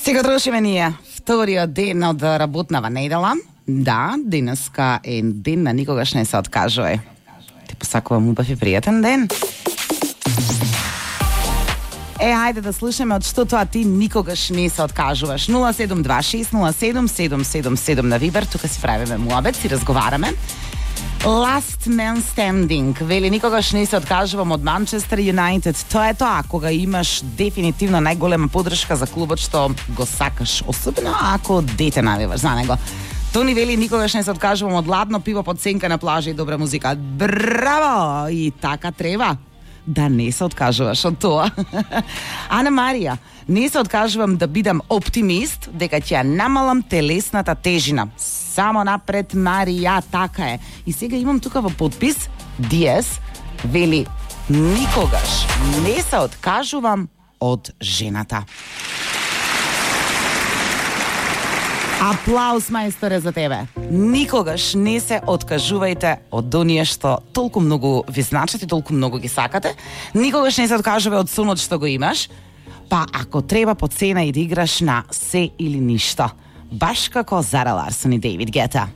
Сега трошиме ние вториот ден од работнава недела. Да, денеска е ден на никогаш не се откажува. Ти посакувам убав и пријатен ден. Хајде да слушаме од што тоа ти никогаш не се откажуваш. 0726077777 на Вибер, тука си правиме муабет, си разговараме. Last Man Standing, вели никогаш не се откажувам од Манчестер Юнайтед. Тоа е тоа, кога имаш дефинитивно најголема поддршка за клубот што го сакаш, особено ако дете навиваш за него. Тони вели никогаш не се откажувам од ладно пиво под сенка на плажа и добра музика. Браво! И така треба да не се откажуваш од тоа. Ана Марија, не се откажувам да бидам оптимист дека ќе намалам телесната тежина. Само напред, Марија, така е. И сега имам тука во подпис Диес, вели никогаш не се откажувам од жената. Аплауз, мајсторе, за тебе. Никогаш не се откажувајте од оние што толку многу ви значат и толку многу ги сакате. Никогаш не се откажувај од сонот што го имаш. Па ако треба по цена и да играш на се или ништо. Баш како Зара Ларсон и Дейвид Гета.